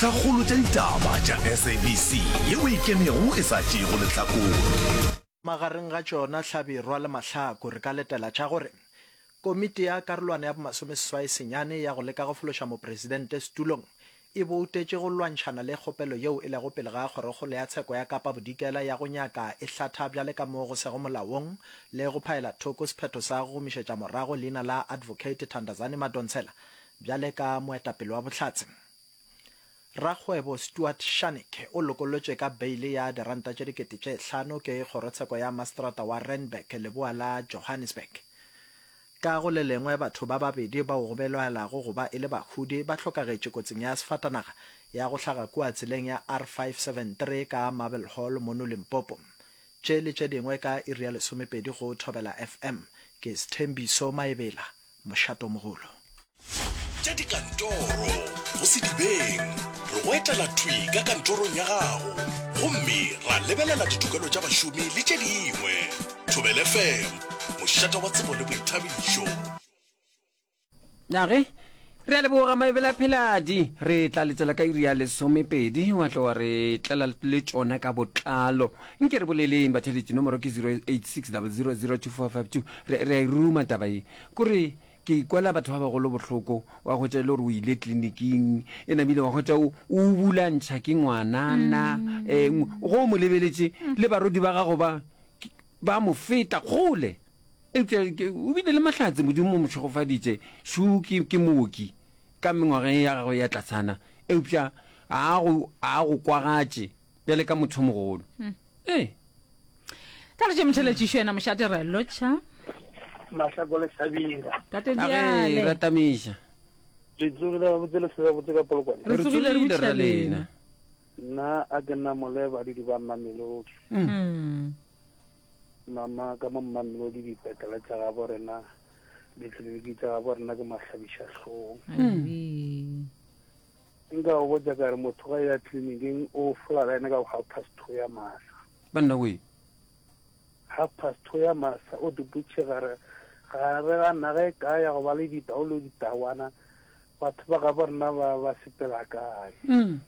Tlhakgolo tša ditaba tša SABC yeo e ikemego e sa tšeego lehlakore. Magareng ga tšona Hlabirwa le Mahlaku re ka letela tša gore Komiti ya Karolwana ya bomasomeseswai senyane ya go leka go fološa Mopresidente setulong e boutetše go lwantšhana le kgopelo yeo e lego pele ga Kgorokgolo ya Tsheko ya Kapa Bodikela ya go nyaka e hlatha bjale ka mo go sego molaong le go phaela thoko sephetho sa go gomišetša morago leina la Advocate Thandazani Madonsela bjale ka moetapele wa bohlatse. Rakgwebo Stuart Scharnick o lokollotšwe ka beile ya diranta tše 5000 ke kgorotsheko ya maseterata wa Randburg leboa la Johannesburg. Ka go le lengwe batho ba babedi bao go belaelago go ba e le bahudi ba hlokagetše kotsing ya sefatanaga ya go hlaga kua tseleng ya R573 ka Marble Hall mono Limpopo. Tše le tše dingwe ka iri ya lesomepedi go Thobela FM. Ke Sthembiso Maebela. Mošatomogolo. Tša dikantoro go sedibeng, re go etela thwi ka kantorong ya gago gomme ra lebelela ditokelo tša bašomi le tše dingwe. Thobela FM, mošate wa tsebo le boithabišo. Na ge re a leboga Maebela Pheladi, re tla letela ka iri ya lesomepedi wa tlo wa re tlela le tšona ka botlalo. Nke re boleleng batheletši, nomoro ke 0860002452. Re re a e ruma taba ye. Kore ke ikwela batho ba bagolo bohloko, wa hwetša e le gore o ile tleliniking, e namile wa hwetša o o bulantšha ke ngwanana, um go o mo lebeletše le barwedi ba gago ba ba mo feta kgole. Eupša o bile le mahlatse, Modimo o mo šegofaditše. Šo ke, ke mooki ka mengwageng ya gagwe ya tlasana, eupša a go, a go kwagatše bjale ka motho mogolo. Hmm. Ee. Tla re tše motheletšišo yena mošate re lotšha. Mahlako le Hlabira. Tate Diale. Ratamiša. Le tsogile gabotse le hlwele gabotse ka Polokwane. Re tsogile re botšiša lena. Nna a ke nna mole badudi ba Mamelodi. Mm. Mama ka mo Mamelodi dipetlele tša gabo rena ditleliniki tša gabo rena ke mahlabiša hlong. Mm. Nka go botša ka re motho ga ya tleliniking o fola line ka half past two ya masa. Banna we. Half past two ya masa o duputše gare gare ga naga e kae ya go ba le ditau le ditawana batho ba gabo rena ba ba sepela kae. Mm.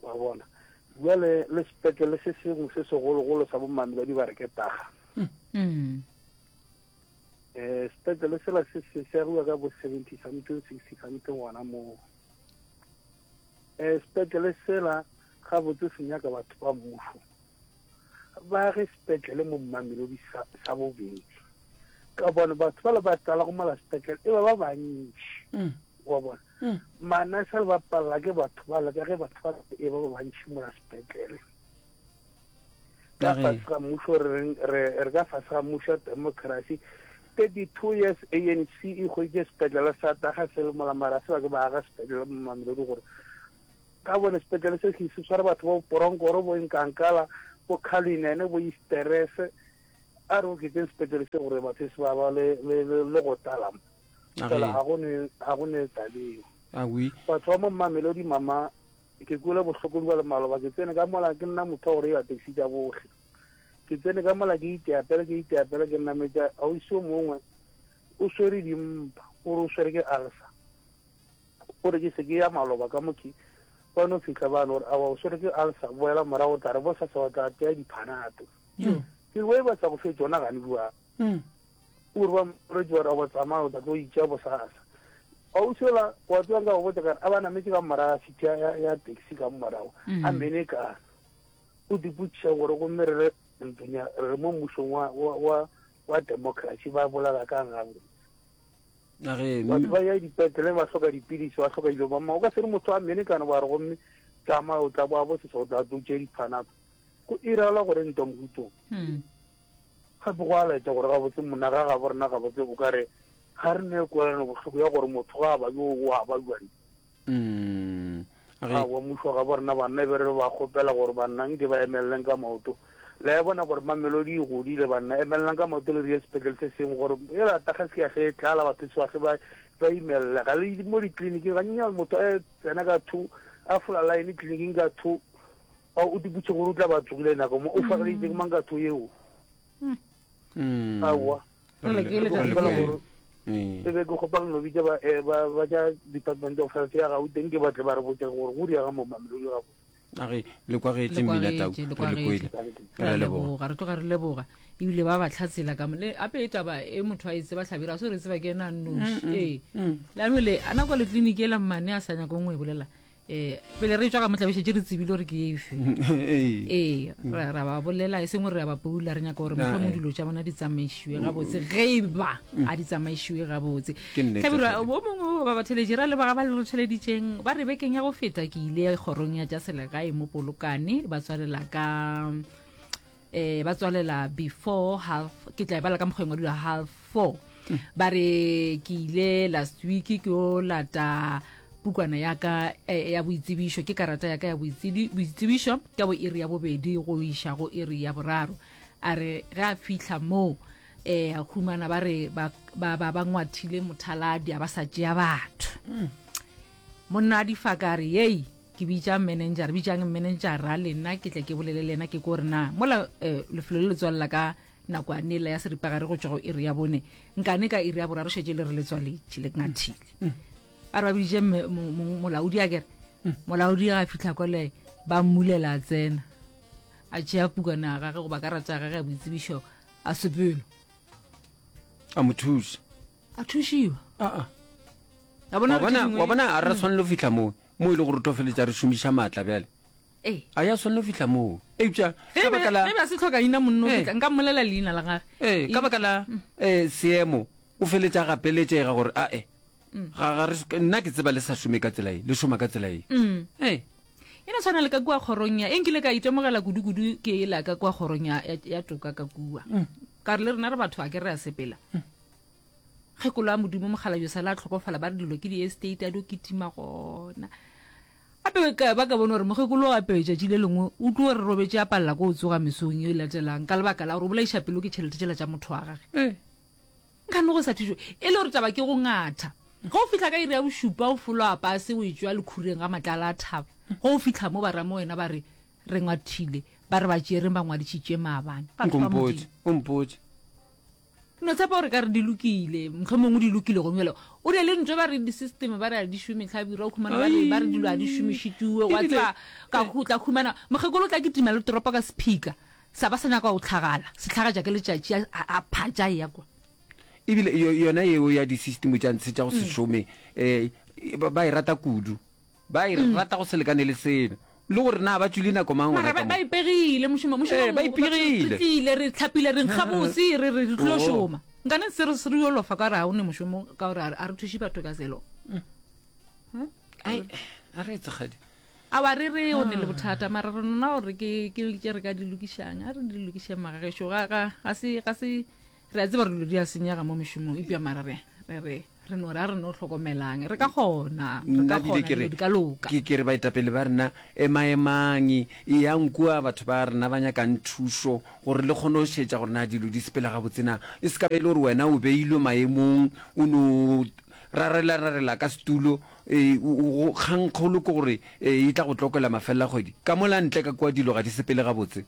Wa bona. Bjale le sepetlele se sengwe se segologolo sa bo Mamelodi ba re ke Taga. Mm. Eh, sepetlele sela se se se agiwa ka bo 70 something 60 something gona moo. Eh, sepetlele sela gabotse se nyaka batho ba mmušo ba age sepetlele mo Mamelodi sa, sa bobedi ka bone batho ba le ba tlala go mola sepetlele e ba ba bantši mm. wa bona mm. manese le ba palela ke batho ba le ka ge batho ba e ba ba bantši mola sepetlele Ka fase ga mmušo re reng, re, re ka fase ga mmušo wa democracy. 32 years ANC e hweditše sepetlele sa taga se le mola mara se ba ke ba aga sepetlele mo Mamelodi gore ka bone sepetlele se se tshware batho bo Poronkoro, bo Nkankala, bo Cullinan, bo Easterese. A re oketseng sepetlele se gore batho se ba ba le, le, le, le go tlala mo. Fela ga go ne, ga go ne tabeo. Batho ba mo Mamelodi mama Ke kwele bohloko bjale maloba ke tsene ka mola ke nna motho wa go reila taxi tša bohle. Ke tsene ka mola ke iteapela ke iteapela ke nametša ausi o mongwe o swere dimpa o re o swere ke ulcer. O re ke se ke ya maloba ka mo ke ba no fihla ba no re awa o swere ke ulcer boela morago o tla re bosasa wa tla tea diphanato. Ke re we ba sa go fe tšona gane bua. O re ba moretši ba re awa tsamaya o tla tlo itšea bosasa. Ausi ola wa tseba nka go botša ka re a ba nametše ka morago ga seat ya, ya, ya taxi ka morago a mene ka o dipotšiša gore gomme re re ntlong ya re mo mmušong wa, wa, wa, wa democracy ba bolela kang gabotse. A ge, Batho ba ya dipetlele ba hloka dipilisi ba hloka dilo mama o ka se re motho a mene kana wa re gomme tsamaya o tla boa bosesa o tla tlo tšea diphanato go irala gore ntwa mohutong. Gape go a laetša gore gabotse monna ga gabo rena gabotse o ka re ga re ne kwelano bohloko ya gore motho ga a ba yo o a ba jwang. Aowa mmušo wa gabo rena banna e be re ba kgopela gore banna nke ba emeleleng ka maoto. Le a bona gore Mamelodi e godile banna emelelang ka maoto le dire sepetlele se sengwe gore e rata ga se ya ge e tlala batho se bahle ba ba imellega le mo ditleliniking ganyenyane motho a tsena ka two a fola line tleliniking ka two A o di botše gore o tla ba tsogile nako mo o fageleditše ke mang ka tho yeo? Mm. Aowa. Re le Re ke kgopela gore. E be ke kgopela no bitša ba eh, ba ba tša Department of Health ya Gauteng ke batle ba re botše gore go diega mo Mamelodi gabotse. A re le kwagetše Le mmina tau, kwagetše, le re le kwele. kwagetše. Re Re a a leboga. leboga, re tloga re leboga. Ebile ba ba tlhatsela ka mo le ape e taba e motho a e tseba hlabira a se re tseba ke ena a nnoši. Ee. Leano le a nako le tleliniki ela mmane a sa nyakong go e bolela. Eh, pele re tšwa ka motla be šetše re tsebile gore ke efe. Ee. Ee, ra ra ba bolela e seng gore re a ba poula re nyaka gore mohlomong eh. dilo tša bona di tsamaišiwe gabotse ge e ba a di tsamaišiwe gabotse. Ke nnete, Hlabirwa, Hlabirwa. bo mongwe ba batheletši ra leboga ba le re theleditšeng ba re bekeng ya go feta ke ile kgorong ya tša selegae mo Polokwane ba tswalela ka eh ba tswalela before half ke tla e bala ka mokgwa e ngwadilwe half four ba re ke ile last week ke o lata pukwana ya ka eh, ya boitsebišo ke karata ya ka ya boitsebišo ka bo iri ya bobedi go iša go iri ya boraro a re ge a fihla moo eh a humana ba re ba ba ba, ba ngwathile mothaladi a ba sa tšea batho monna a difaka a re yei ke bitša manager bitšang manager a lena ke tle ke bolele le yena ke ko re na mola eh, lefelo le le tswalela ka nako a nela ya seripagare go tšwa go iri ya bone nkane ka iri ya boraro šetše le re le tswaletše le ngathile a re ba biditše molaodi a kere molaodi ga a fitlha kole ba mmulela a tsena a tšea pukana ya gage goba karata ya gage ya boitsebišo a sepelo a mo thuša a thušiwa aa a bona wa gore bona tše dingwe- wa bona a re swanelo go fihla moo mo e le gore re tlo feletša re šomiša maatla bjale Ee. A ya swanelo fihla moo. Eupša Ge ka baka la ge ba se hloka ina monno Ee. ke tla nka mmolela leina la gage. Ee, ka baka la eh, seemo o feletša gapeletšega gore ae ga ga re nna ke tseba le sa šome ka tsela ye, le šoma ka tsela ye. Ee. E no tshwana le ka kua kgorong ya e nkile ka itemogela kudu-kudu ke ela ka kua kgorong ya, ya, ya toka ka kua. Ka re le rena re batho a ke re a sepela. Kgekolo ya Modimo mokgalabje sala a tlhokofala ba re dilo ke di-estate a dio kitima gona. Gape ka ba ka bona gore mokgekolo gape tšatši le lengwe o tlo re robetše a palela ko o tsoga mesong e latelang ka lebaka la gore o bolaiša pelo ke tšhelete tšela tša motho wa gage. Ee. Nkane go sa thušo e le gore taba ke go ngatha. Ge o fihla ka iri ya bošupa o folo a pase o etšwa lekhureng ga matlala a thaba. Ge o fihla mo ba ramo wena ba re re ngwathile ba re ba tšereng ba ngwadišitše maabane. Batho ba Nkompotše, Modimo. o mpotše. Ke no tshepa gore ka re di lokile, mohlomongwe di lokile gone bjale. O re le ntho ba re di-system ba re a di šome hlabirwa, o khumana ba re ba re dilo a di šomišitšwe, wa Ebile tseba ka go tla khumana mokgekolo o tla kitima le toropo ka sephika sa ba sa nyaka go tlhagala, se tlhagatša ke letšatši a a phatša a eya kwa. Ebile yona yeo ya di-system tša ntshe tša go se šome um ba e rata kudu. Ba e rata go se lekane le selo. Le gore na ba tšwile nako mang Mara gona ba, ka ba mo? ipegile mošomo, mošomo Ee, ba mo, batho re ipegile. tlile, re hlapile, re nkga bose, re re re tlilo Oo. šoma. Nkane se re se re yo lofa ka gore ga o ne mošomo, ka gore a re- a re thuše batho ka selo. Ai, a re etse kgadi. Aowa re re o ne le bothata, mara re nona gore ke ke tše re ka di lokišang. A re di lokišeng magagešo, ga ga ga se ga se Re a tseba gore dilo di a senyega mo mešomong, eupša mara re, re, re, re no re a re no hlokomelang. Re ka kgona, re Nna ka bile kgona, ke re, dilo di ka loka. ke, ke re baetapele ba rena, emaemang, eyang kua batho ba rena ba nyakang thušo, gore le kgone go šetša gore na dilo di sepela gabotse na. E se ka ba e le gore wena o beilwe maemong, o no rarela-rarela ka setulo, e, o, o, go, kgangkgolo ke gore e, e tla go tlokela mafelelakgwedi. Ka mola ntle ka kua dilo ga di sepele gabotse.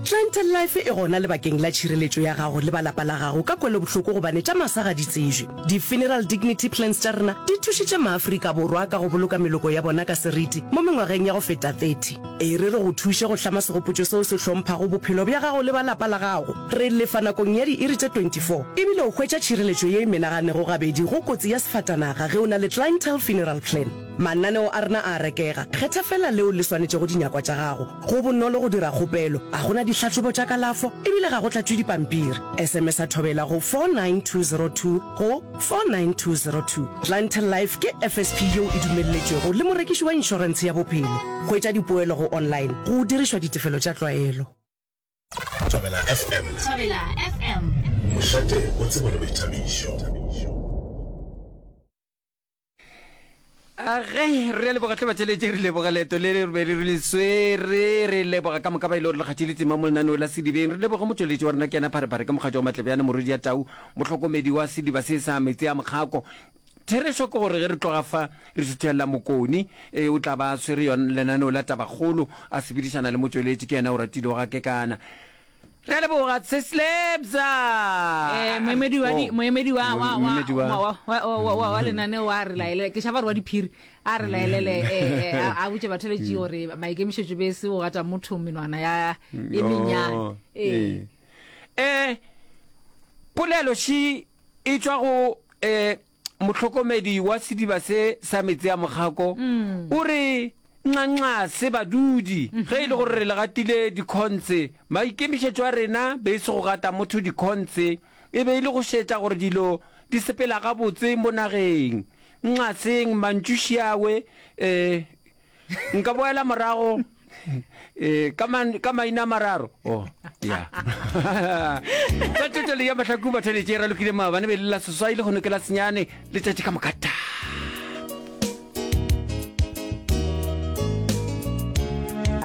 Clientele Life e gona lebakeng la tšhireletšo ya gago le ba lapa la gago ka kwelobohloko gobane tša masa ga di tsejwe. Di-Funeral Dignity Plans tša rena di thušitše maAfrika Borwa ka go boloka meloko ya bona ka seriti mo mengwageng ya go feta 30. E re re go thuše go hlama segopotšo seo se hlomphago bophelo bja gago le ba lapa la gago. Re lefa nakong ya diiri tše 24 ebile o hwetša tšhireletšo ye e menaganego gabedi go kotsi ya sefatanaga ge o na le Clientele Funeral Plan. Mananeo a rena a a rekega, kgetha feela leo le swanetšego dinyakwa tša gago. Go bonolo go dira kgopelo, ga go na dihlahlobo tša kalafo e bile ga go tlatšwe dipampiri. SMS-a Thobela go 49202 go 49202. Clientele Life ke FSP yeo e dumelletšwego le morekiši wa inšorentshe ya bophelo. Hwetša dipoelo go online go dirišwa ditefelo tša tlwaelo. Thobela FM. Thobela FM. Mošate wa tsebo le boithabišo. A ge re a leboga hle batšeletši, re leboga leeto le re be re le swere, re leboga ka moka ba e le gore le kgatšile tema mo lenaneo la Sedibeng, re leboge motšweletši wa rena ke yena Pharephare ke mokgatšo wa Matlebjane Morwedi ya Tau, mohlokomedi wa sediba se sa metsi a mokgako. Therešo ke gore ge re tloga fa re šuthelela Mokoni, e, o tla ba a swere yona lenaneo la Tabakgolo a sepedišana le motšweletši ke yena o ratile wa ga Kekana. Re a leboga Tseslebza. Eh, moemedi wa di- Oh. moemedi wa wa wa Moemedi wa- wa wa- wa- wa- wa lenaneo a re laelele ke šaba re wa diphiri a re laelele eh, eh, a a botše batheletši gore maikemišetšo be se go gata motho menwana ya e mennyane Oh, ee ee. Eh, polelo še e tšwa go eh Mohlokomedi wa sediba se sa meetse a mokgako o re nxanxase badudi ge e le gore re le gatile dikhontse. Maikemišetšo a rena be e se go gata motho dikhontse, e be e le go šetša gore dilo di sepela gabotse mo nageng. Nxaseng mantšu šiawe eh. Nka boela morago eh, ka, man, ka maina a mararo. Oh, ya. Tsa tšwetšo ya mahlaku batheletše e ralokile maabane be le la seswai le kgono ke la senyane letšatši ka moka ta.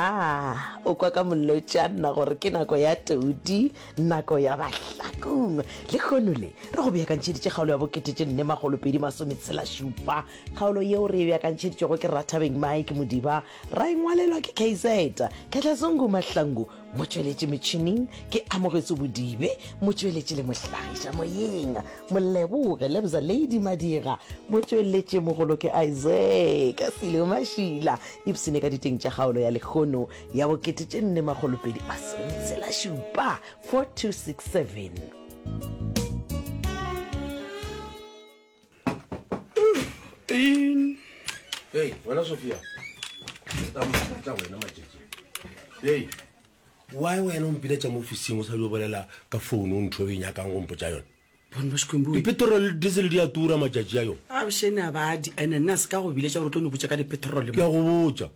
Ah, o kwa ka molotšana gore ke nako ya todi, nako ya bahlakong. Lehono le, re go beakantšheditše kgaolo ya bokete tše nne makgolo pedi masometshela šupa. Kgaolo yeo re e beakantšheditšwego ke Rathabeng Mike Modiba, ra e ngwalelwa ke KZ Khehlazungu Mahlangu, motšweletši metšhineng ke Amogetswe Bodibe, motšweletši le mohlagiša moyeng Moleboge Lebza Lady Madira, motšweletši mogolo ke Isaac Silo Mašila. Ipshine ka diteng tša kgaolo ya lehono ya bokete tše nne makgolopedi masometshela-šupa, 4267. Hey, wena Sophia. Tla wena matšatši. Hey, why wena o mpiletša mo ofising o sa dio bolela ka phone o ntho e nyakang go mpotša yona? Bone ba Xikwembu. Dipetrol le diesel di a tura matšatši a yo. A bošene a ba di ene nna se ka go biletša gore o tlo no botša ka dipetrol. Ke a go botša.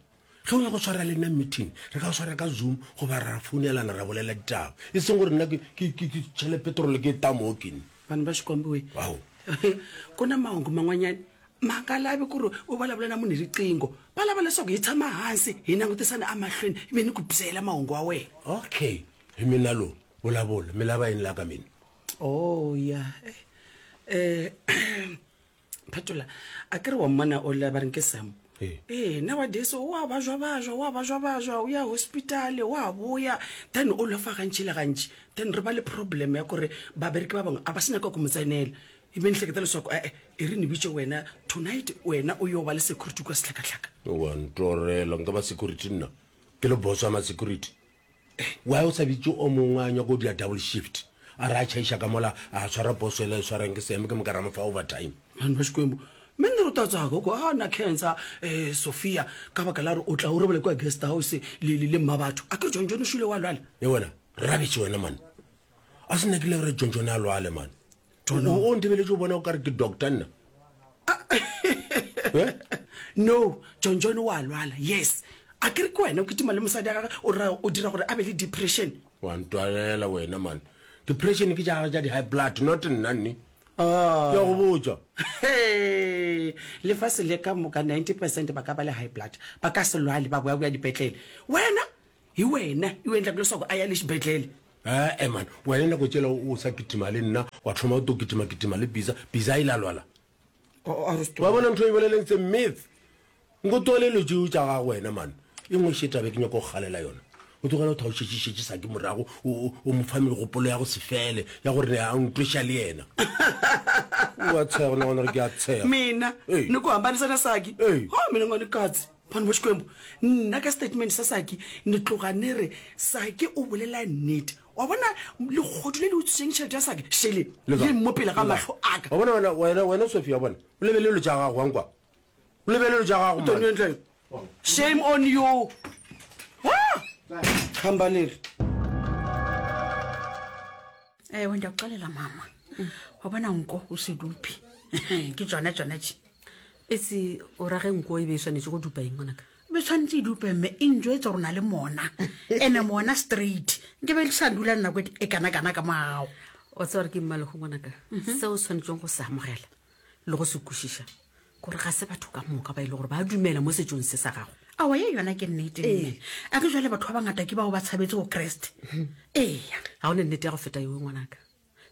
Ge o nyaka go swara le nna meeting, re ka swara ka Zoom goba ra founelana ra bolela ditaba. E seng gore nna ke ke ke ke tšhele petrol ke e tamo ke nne. Vanhu va Xikwembu we. Ao. Ku na mahungu man'wanyana ma nga lavi ku ri u vulavula na munhu hi riqingho. Va lava leswaku hi tshama hansi hi langutisana emahlweni ivi ni ku byela mahungu wa wena. Okay, hi mina lo, vulavula. Mi lava yini la ka mina? Oh ya. Eh, phetola a ke re wa mmona o la ba reng ke sam ee nowadays o a bajwa bajwa o a bajwa bajwa o ya hospital o a boya then o lofa gantši le gantši then re ba le problem ya kore babereki ba bangwe a ba se nyaka go mo tsenela e be nhleketa leswako ee e re ne bitše wena tonight wena o yo ba le security kwa sehlakahlaka wa ntorela nka ba security nna ke le boss wa ma security Why o sa bitše o mongwe a nyaka go dira double shift a re a tšhaiša ka mola a tshwara poso ela e swarang ke seeme ke moka ra mo fa overtime. Vanhu va Xikwembu mi ni ri u ta tsaka ku a na khensa um Sophia ka baka la gore o tla o robala kua guest house le le le mma batho a ke re John John o šule wa lwala. Ye wena rubbish wena man a se nyakile gore John John a lwale man o o ntebeletše o bona o kare ke doctor nna Eh? No John John wa lwala yes A ke re ke wena o kitima le mosadi ya gagwe o ra o dira gore a be le depression. Wa ntwalela wena man. Depression ke tša gagwe tša di high blood not nna nne. Ke a go botša. Hee, lefase le ka moka 90 percent ba ka ba le high blood ba ka se lwale ba boya boya dipetlele. Wena hi wena i o endlaka leswaku a ya le xibedlele. Ee man, wena nako tšela o sa kitima le nna wa thoma o to kitima kitima le Biza, Biza a ile a lwala. Wa bona ntho e boleleng tse myth. Nko tlogele dilo tšeo tša gago wena man. E nngwe še taba e ke nyaka go galela yona. O tlogele go tha o šetše šetše Saki morago o, o, o mo fa megopolo ya go se fele ya gore ne a ntweša le yena. O a tshega, o nagana gore ke a tshega. Mina Ee. ni ku hambanisa na Saki? Ee. Ha mina nga ni katsi. Vanhu va Xikwembu, nna ka statement sa Saki ni tloga ni ri Saki u bulela nnete. Wa bona legodu le le utswitseng tšhelete ya Saki šele Le le mo pele ga Le mahlo a ka. Wa bona wena, wena, wena Sophie, wa bona, o lebelele dilo tša gago, wa nkwa? O lebelele tša gago man. Tonentle. Shame on you. Ah! Hamba leri. Ewe ndiyakuxelela mama. Wa bona nko o se dupe. Ke tsona tsona tše. Etse o ra ge nko e be e swanetše go dupa eng ngwanaka? Be tshwanetse e dupe mme e njwetse gore o na le mona. Ene mona straight. Nke be le sa dula nako e kana kana ka mogago. Wa tseba gore ke mmalego ngwanaka. Seo o swanetšeng go se amogela le go se kwešiša kore ga se batho ka moka ba e le gore ba dumela mo setsong se sa gago. Aowa, ye yona ke nnete, mme. A ke jwale batho ba bangata ke bao ba tshabetse go Kreste. Eya. Ga o ne nnete ya go feta yeo, ngwanaka.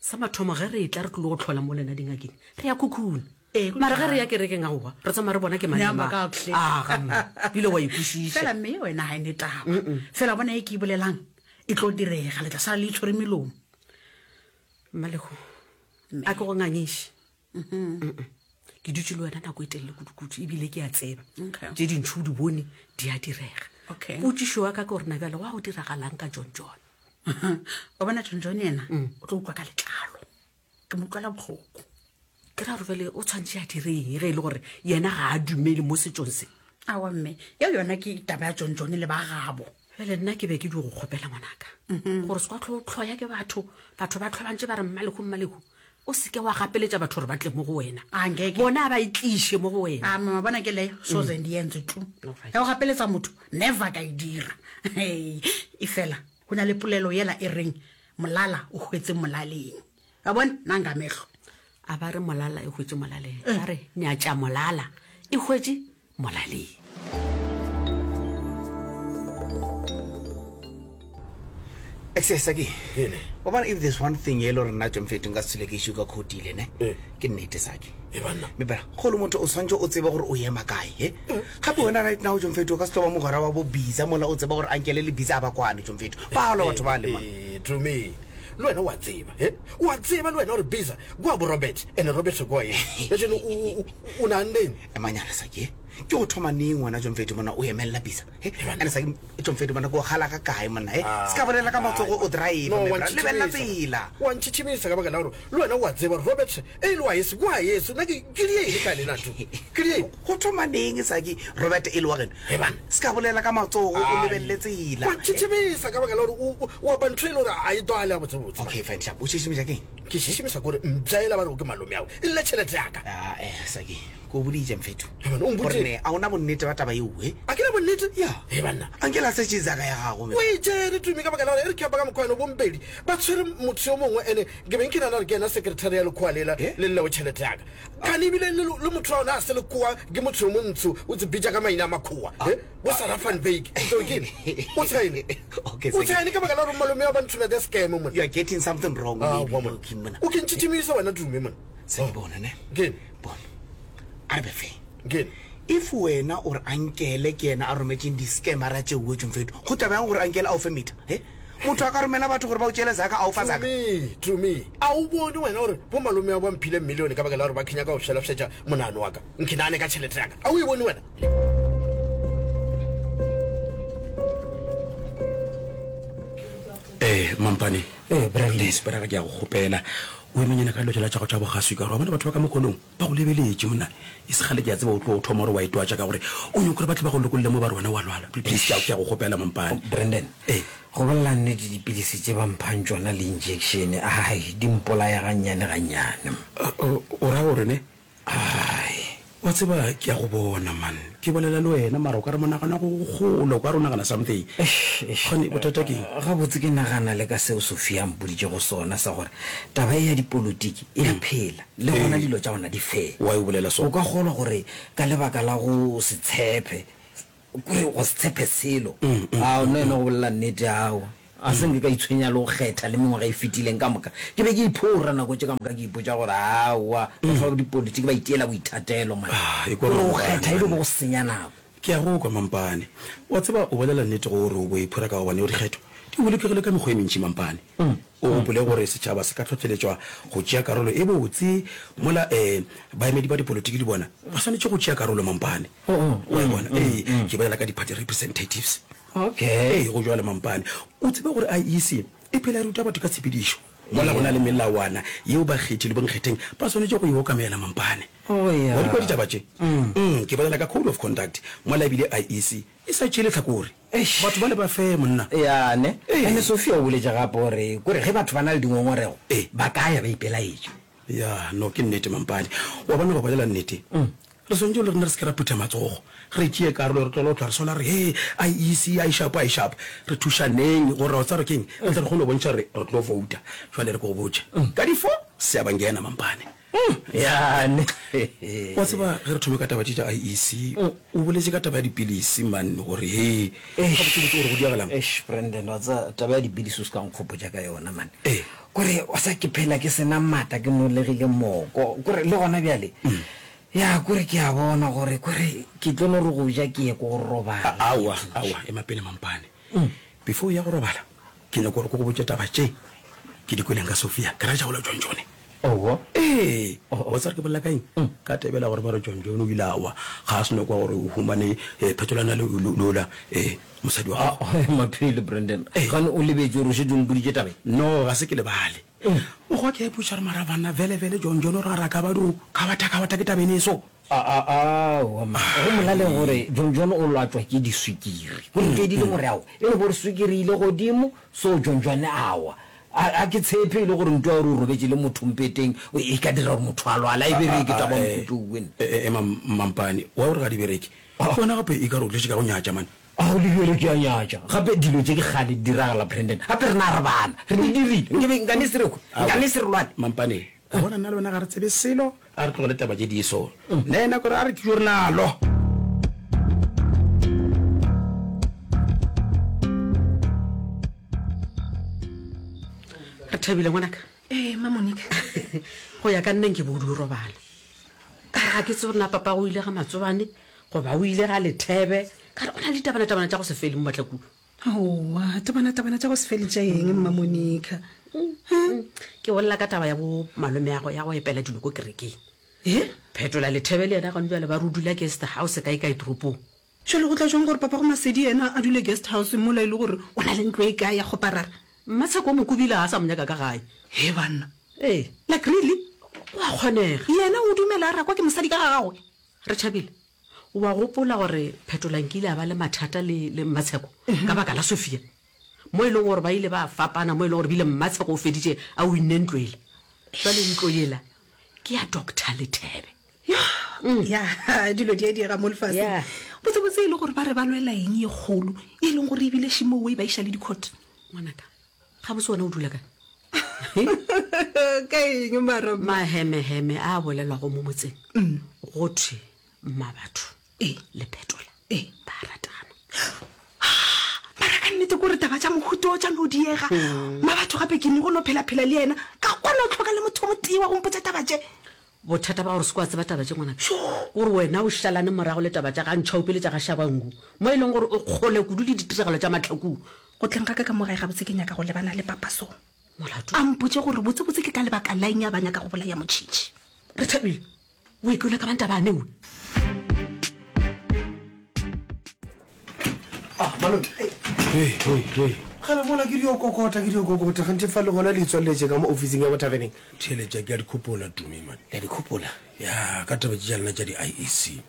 Sa mathomo ge re etla re tlilo go tlhola mo lena dingakeng, re ya khukhuna. Ee, go Mara ge re jwalo. ya kerekeng aowa, re tsamaya re bona ke mang le Nea mang. maka hle. Aga, mme, bile wa e kwešiša. Fela mme ye wena ga e ne taba. Fela bona ye ke e bolelang. e tlo direga le tla sala le itshwere melomo mmalego a ke go ngangiše Mm-mm. ke dutše le wena nako e telele kudukudu ebile ke a tseba Okay. tše dintšhi o di bone di a direga Okay. potšišo wa ka ke gore na bjale wa go diragalang ka john john wa bona john john yena o tlo utlwa ka letlalo ke mo utlwela bohloko ke ra gore bjale o tshwanetse a direng ge e le gore yena ga a dumele mo setsong se awa mme yeo yona ke taba ya john john le ba gabo bjale nna ke be ke di go kgopela ngwanaka gore se kwa tlho tlhoya ke batho batho ba tlho bantse ba re mmalego mmalego o seke wa gapeletša batho gore ba tle mo go wena A, nkeke. bona ba itliše mo go wena a mama bona ke leyo soze ndi yenze tu Alright. ya go gapeletsa motho never ka e dira Hei, e fela go na le polelo yela e reng molala o hwetse molaleng a bona nanga mehlo a ba re molala e hwetše molaleng ba re nyatša molala e hwetše molaleng Saki wa bona if there's one thing e le gore nna tsomfeto nka se tshole ke issue ka khotile ne Eh. ke nnete saki E banna. mme bera go le motho o tshwanetse o tsebe gore o ema kae he gape wena right now tsomfeto o ka se tlo ba mogwera wa bo bisa mola o tseba gore ankele le bisa a ba kwane tsomfeto ba lwa batho ba le man Eh, Tumi le wena wa tseba he wa tseba le wena gore bisa kwa bo robert and robert kwa eng lejeno o naanneng emanyana saki ke go thoma neng wena jomfeto mona o emelela bisa he ande saki jomfeto mona ke o gala ka kae monna he se ka bolela ka matsogo o drive No, wa lebelela ntšhitšhimisa. tsela wa ntšhitšhimisa ka baka la gore le wena wa tseba gore robert e le wa yeso kwa yeso nna ke ke dieng ka lena tu ke dieng go thoma neng saki robert e le wa geno He banna. se ka bolela ka matsogo o lebelele tsela wa ntšhitšhimisa ka baka la gore o- o- o apa ntho e le gore a e twale gabotsebotse okay fine sharp o šišimiša keng ke šišimisa kore mpša ela ba re o ke malome ao e lle tšhelete yaka Ah, eh, saki ke o boditše mfetho He banna, o mpoditše. gore ne a ona bonnete ba taba eo e a ke na bonnete ya he banna anke la setse zaka ya gago o e tšere tumi ka baka la gore e re ke apa ka mokgwa ene bompedi ba tshwere motho yo mongwe ene ke beng ke nana gore ke ena secretary ya lekgowa lela Eh? le lleo tšhelete yaka kane ebile le le motho wa ona a se lekgowa ke motho yo montsho o tse bitša ka maina a makgowa Eh, bo sarah van bake kene o tshene Okay, o Saki. tshene ka baka la gore malome wa ba nthomete scam mona you are getting something wrong Ah, maybe, wa mona. okay, mona o ke ntšhitšhimisa wena tume mona Saki, bona ne Keng? bona a re be fair Keng? if wena o re ankele ke yena a rometseng di-scamera tšeo tšomfeto go taba yang gore ankele a o fe meter he motho a ka romela batho gore ba o tšeele zaka a o fa zaka Tumi, Tumi, a o bone wena gore bo malome a ba mphile millione ka baka la gore ba kenya ka go fšelafšetša monano wa ka nkhinane ka tšhelete ya ka a o e bone wena ee mampane Ee, Brandon. please brother ke ya go kgopela o emenyana ka dilo tšela tša go tša bogaswi ka gore wa bona batho ba ka mokgonong ba go lebeletše monna e se kgale ke a tseba o tlo o thoma gore wa itwatša ka gore o nyoko gore ba tle ba go lokolle mo ba re wena wa lwala please ke a ke a go kgopela mampane Brandon ee go bolela nnete dipilisi tše ba mphang tšona le injection ai di mpolaya gannyane gannyane o o ra gore ne ai wa tseba ke a go bona man ke bolela le wena mara o ka re monagano go gole o ka re o nagana something kgane bothata ke eng? Gabotse ke nagana le ka seo Sophia a mpoditšego sona sa gore taba ye ya dipolotiki e a phela le gona dilo tša gona di fair. Why o bolela so? O ka kgolwa gore ka lebaka la go se tshepe Kore go se tshepe selo. Ao, nna ene go bolela nnete, aowa. A se nke ka itshwenya le go kgetha le mengwaga e fetileng ka moka. Ke be ke iphora nako tše ka moka ke ipotša gore aowa, batho ba dipolitiki ba itiela boithatelo man. Ekwa Kore go Mampane, kgetha e be man. go senya nako. Ke a go kwa Mampane. Wa tseba o bolela nnete gore o bo iphora ka gobane dikgetho di bolokegile ka mekgwa e mentši Mampane. O gopole gore setšhaba se ka hlohleletšwa go tšea karolo e botse mola um baemedi ba dipolotiki le bona ba swanetše go tšea karolo Mampane. Wa e bona? Ee, ke bolela ka di-party representatives. Okay. Ee, go jwalo Mampane. O tsebe gore IEC e phela e ruta batho ka tshepedišo mola go na le melawana yeo bakgethi le bonkgetheng ba swanetše go e okamela Mampane. Oh, yeah. Wa di kwa ditaba tše? Mm, ke bolela ka code of conduct mola ebile IEC e sa tšee lehlakore. Eish. Batho bale ba fair monna. Ya ne. Ee. Ene Sophia o boletše gape gore kore ge batho ba na le dingongorego Ee. ba ka ya ba ipelaetša. Ya, no ke nnete Mampane. Wa bona go bolela nnete. Re swanetše le rena re se ke ra phutha matsogo. Re tšee karolo re tlogele go hlwa re sola re he IEC a e sharp a e sharp. Re thušaneng gore wa tseba keng re tle re kgone go bontšha gore re tlo vouta. Jwale re ke go botše. Ka di four seabangena Mampane. Ya ne. Wa tseba ge re thome ka taba tše tša IEC, o boletše ka taba ya dipilisi man gore he gabotsebotse gore go diagalang. Eish Brandon wa tseba taba ya dipilisi o se ka nkgopotša ka yona man. Ee. Kore wa tseba ke phela ke sena maatla ke nolegile moko kore le gona bjale ya kore ke a bona gore kore ke tlo no re go ja ke ye ko go robala. Aowa aowa ema pele Mampane. Before o ya go robala. Ke nyaka gore ke go botše taba tše ke di kweleng ka Sophia. Ke ra tša gola John John. Owo. Ee, wa tseba gore ke bolela ka eng? Ka tebela gore ba re John John o ile a wa, ga a seno kwa gore o humane phetolwana le ola mosadi wa gagwe. Maphele, Brandon, gane o lebetše gore o šetše o mpoditše taba ye? No, ga se ke lebale. Mokgwa ke a ipotšiša gore mara banna vele vele John John o re a re a ka ba dio kgabatha-kgabatha ke taba ene e so. Aowa mma, go molaleng gore John John o lwatšwa ke diswikiri. Go fedile gore aowa, e no ba gore swikiri e ile godimo, so John John a wa. A ke tshepe e le gore nto ya gore o robetše le motho mpeteng e ka dira gore motho a lwale, a e bereke taba ya mohuta wo wena. Ema Mmampane, wa gore ga di bereke? Wena gape e ka re o tletše ka go nyatša man. Ao le bjalo ke a nyatša. Gape dilo tše ke kgale di diragala Brandon. Gape rena re bana, re di dirile. Nke be nkane se re hwe, nkane se re lwale. Mampane, wa bona nna le wena ga re tsebe selo. A re tlogele taba tše di so. Nna yena kore a re ke journalo. Re thabile ngwanaka. Ee, mma Monica. Go ya ka nna nke bo o di o robala. Ka re ga ke tsebe gore na papa o ile ga Matsobane goba o ile ga Lethebe. Ka re o na le ditabanatabana tša go se fele mo Matlakung. Aowa, tabanatabana tša go se fele tša eng, Mma Monica? Ke bolela ka taba ya bo malomeago ya go epela dilo ko kerekeng. E? Phetola Lethebe le yena gone bjale ba re o dula guest house kae kae toropong. Jwale go tla jwang gore papago Masedi yena a dule guest house mola e le gore o na le ntlo e kae ya kgoparara? Mmatsheko o mo kobile ga a sa mo nyaka ka gae. He banna. Ee. Like really? Go a kgonega. Yena o dumela a rakwa ke mosadi ka ga gagwe? Rethabile, o a gopola gore Phetola nkile a ba le mathata le, le Mmatsheko ka baka la Sophia? Mo e leng gore ba ile ba fapana, mo e leng gore bile Mmatsheko o feditše a winne ntlo yela. Jwale ntlo yela ke ya Doctor Lethebe. Ya, dilo di a diega mo lefaseng. Yeah. Botsebotse e le gore ba re ba lwela eng ye kgolo, e leng gore ebile šimo e ba iša le di-court. Ngwanaka, gabotse wena o dula kae? Ka eng mara mma? Mahemeheme a a bolelwago mo motseng go thwe Mmabatho le Phetola ba a ratana. Mara ka nnete kore taba tša mohuta o tša no diega. Mmabatho gape ke ne go no phela-phela le yena ka kwana o hloka le motho o motee wa go mpotša taba tše. Bothata ba gore se kwa tseba taba tše ngwanaka kore wena o šalane morago le taba tša ga Ntšhaope le tša ga Shabangu mo e leng gore o kgole kudu le ditiragalo tša Mahlakung. Go tleng ga ka ka mo gae gabotse ke nyaka go lebana le Papa So. Molato? A mpotše gore botsebotse ke ka lebaka la eng a ba nyaka go bolaya Motšhitšhi. Rethabile, o ikwele ka banta ba newe. Ah, malome. Hey, hey, hey. Gale mola ke dio kokota, ke dio kokota. Ganthe fa le gona le itswaleletše ka mo ofising ya bo taverneng. Theeletša, ke a di khopola, Tumi, man. Le a di khopola? Ya, ka taba tše tša lena tša di-IEC.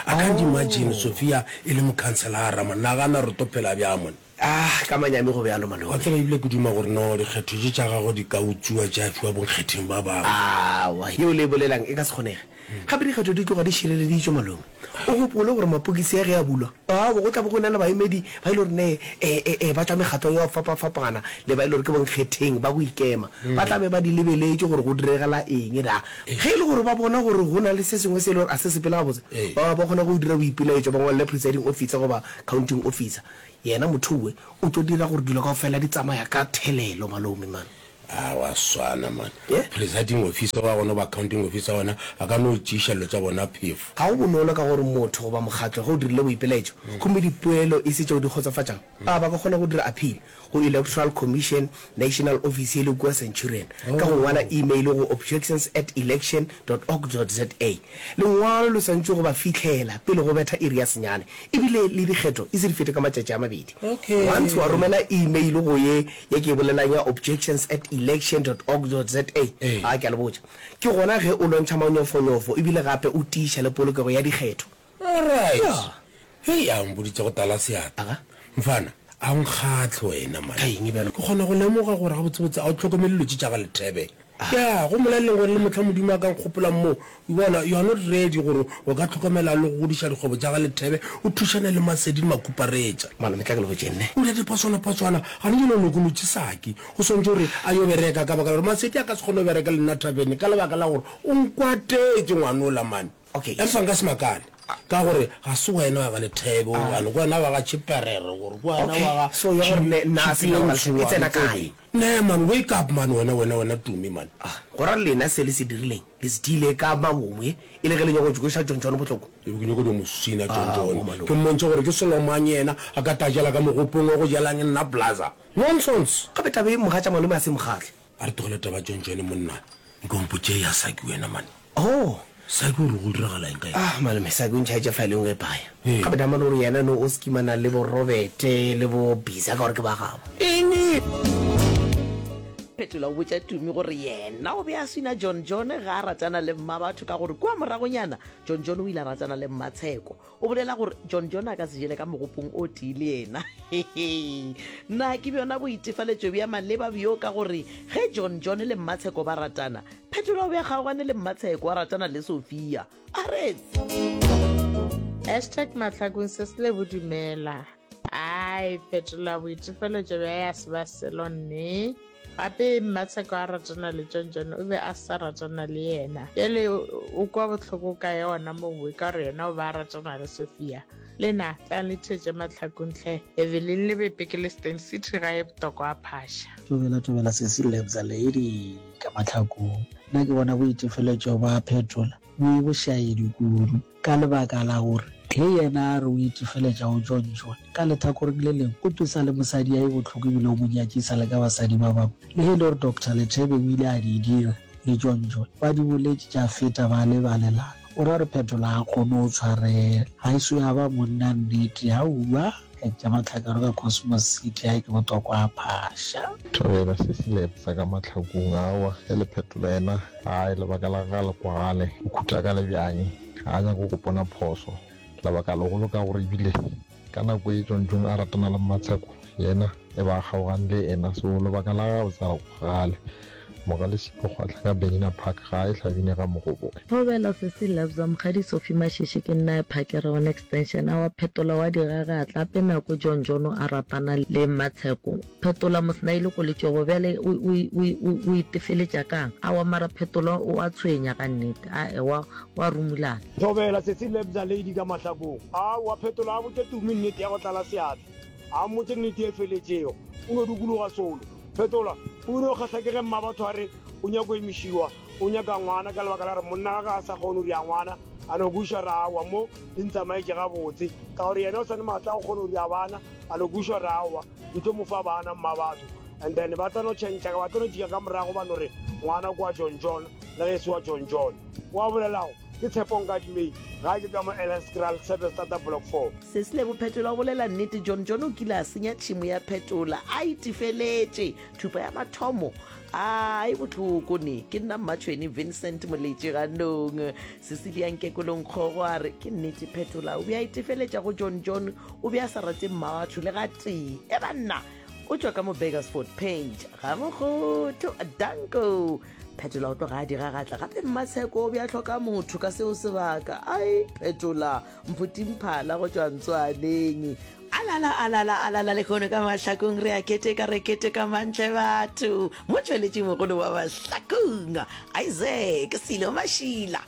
I can't imagine Sophia e le mokhanselara, man. Nagana re tlo phela bjang, man. Ah, ka manyami go bjalo, malome. Wa tseba, ebile ke duma gore no dikgetho tše tša gagwe di ka utswiwa tša fiwa bonkgetheng ba bangwe. Aowa, yeo le e bolelang e ka se kgonege. Gape dikgetho di tloga di šireleditšwe, malome. O gopole gore mapokisi a ge a bulwa, aowa, go tla be go na le baemedi ba e le gore ne e, e, e, ba tšwa mekgatlong ya go fapafapana le ba e le gore ke bonkgetheng ba go ikema. Ba tla be ba di lebeletše gore go diregela eng da. Ge e le gore ba bona gore go na le se sengwe se e le gore a se sepele gabotse, ba ba kgona go dira boipelaetšo ba ngwalele presiding officer goba counting officer. Yena motho we o tlo dira gore dilo kaofela di tsamaya ka thelelo malome man. A wa swana man. Presiding officer wa gona goba accounting officer wa gona a ka no tšeiša dilo tša bona phefo. Ga go bonolo ka gore motho goba mokgatlo ge o dirile boipelaetšo gomme dipoelo e se tšeo di kgotsofatšago, a ba ka kgona go dira appeal go Electoral Commission National Office ye le kua Centurion ka go ngwala email go objections at election dot org dot za. Lengwalo le swantšwe go ba fihlela pele go betha iri ya senyane ebile le dikgetho e se di fete ka matšatši a mabedi. Once wa romela email go ye ye ke e bolelang ya objections at election dot org dot za, a ke a le botša, ke gona ge o lwantšha manyofonyofo ebile gape o tiiša le polokego ya dikgetho. Alright. Hei, a o mpoditše go tala seatla. Mfana, a o nkgahle wena, man. Ka eng bjalo? Ke kgona go lemoga gore gabotsebotse a o hlokomele dilo tše tša ga Lethebe. Ya, go molaleng gore le mohla Modimo a ka nkgopolang mo, o bona, you are not ready gore o ka hlokomela le go godiša dikgwebo tša ga Lethebe, o thušane le Masedi le Makuparetša. Malome, tla ke le botšeng ne. O dira dipaswana-paswana, gane jwale o lokolotše Saki. O swanetše gore a yo bereka ka baka la gore Masedi a ka se kgone go bereka le nna thavene ka lebaka la gore o nkwatetše ngwanola, man. Okay. Empa nka se makale. Ka gore ga se wena wa ga Lethebe gobane ke wena wa ga Tšhiperere gore ke wena wa ga So ya gore ne nna a se e tsena kae? Ne man, wake up man wena wena wena Tumi man. Ah, go ra lena se le se dirileng le se diile ka mabomo e e le ge le nyaka go kweša John John bohloko? Ke be ke nyaka go mo sina John John, ke mmontšhe gore ke selo mang yena a ka tajela ka mogopong wa go jelang nna blaza. Nonsense! Gape taba ye mogatša malome a se mokgahle. A re tlogele taba John John monna, nko mpotše ya Saki wena man. Oh! Saki o re go diragala eng ka yena? Ah malome, Saki o ntšhaetše file engwe paya. Gape Damane o re yena no o skimana le bo Robert le bo Bisa ka gore ke ba gabo. Eng? Phetola o botša Tumi gore yena o be a swina John John ga a ratana le Mmabatho ka gore kua moragonyana John John o ile a ratana le Mmatsheko. O bolela gore John John a ka se jele ka mogopong o tee le yena. Na ke bjona boitefaletšo bja maleba bjo ka gore ge John John le Mmatsheko ba ratana, Phetola o be a kgaogane le Mmatsheko a ratana le Sophia. Aretse! Hashtag Mahlakong se se lebo dumela. Ai, Phetola boitefeletšo bja ya se ba selo nne. Gape Mmatsheko a ratana le John John o be a sa ratana le yena. Bjale o kwa bohloko ka yona mowe ka gore yena o ba a ratana le Sophia. Le na, tlang le theetše Mahlakong hle. Evelyn Lebepe ke le Steyn City gae Botoko a Phasha. Tobela tobela sesi Lebza lady ka Mahlakong. Nna ke bona boitefeletšo ba Phetola bo e bošaedi kudu ka lebaka la gore ge yena a re o itefeletša go John John, ka lethakoreng le lengwe o twesa le mosadi ya e bohloko ebile o mo nyakisa le ka basadi ba bangwe. Le ge e le gore Doctor Lethebe o ile a di dira le John John, ba di boletše tša feta ba lebalelana. O ra gore Phetola ga a kgone go tshwarela. Ga e so ya ba monna nnete, aowa. Tša Mahlakaro ka Cosmos City a ke botokwa a phasha. Thobela se se lepsa ka mahlakong aowa ge le phetola yena gae lebaka la gagwe ga le kwagale o khuta ka lebjang ga a nyake go pona phoso lebaka legolo ka gore ebile ka nako e Jonjon a ratana le Mmatsheko yena e ba a kgaogane le ena so lebaka la gagwe ga le kwagale Mogale Sipho Kgwahla ka Benina Park ga e hlabine ga Mogoboe. Thobela Sesi Lebza, Mokgadi Sophie Mashishi ke nna Phakere one extension awa Phetola wa digagatla ape nako John Jono a ratana le Mmatsheko Phetola mosnaile ko letšogo bjale o o o o itefeletša kang awa mara Phetola o a tshwenya ka nnete ae wa wa rumulana. Thobela Sesi Lebza Lady ka mahlakong aowa Phetola a botše Tumi nnete ya go tlala seatla a mmotše nnete e feletšego o no dukuluga solo Fetola, O ile o kgahla ke ge mmabatho a re o nyako emišiwa, o nyaka ngwana ka lebaka la gore monna gage a sa kgone go ria ngwana, a no kwešiša re aowa mo di ntsamaetše gabotse ka gore yena o sa ne maatla a go kgona go ria bana, a no kwešiša re aowa ke tlo mo fa bana mmabatho and then ba tla no tšhentšha ba tlo no jika ka morago ba no re ngwana ke wa John John le ge e se wa John John. O a bolelago ke Tshepo Nkadimeng gae ke ka mo Elandskraal Service Starter Block 4. Sesi Lebo Phetola o bolela nnete, John John o kile a senya tšhemo ya Phetola a itefeletše. Thupa ya mathomo a e bohloko ne. Ke nna Mmatšhweni Vincent Moletši ganong. Cecilia Nkekolong Kgogo a re ke nnete Phetola o be a itefeletša go John John o be a sa rate mmabatho le gatee. E banna o tšwa ka mo Burgersfort Paint ga Mokgotho Danko. Phetola o tloga a diragatla gape Mmatsheko o be a hloka motho ka seo sebaka. Ai Phetola Mphuti-Mphala go tšwa Ntswaneng. Alala, alala, alala, lehono ka Mahlakong re a keteka, re keteka mantle batho. Motšweletši mogolo wa Mahlakong, Isaac Silo Mashila.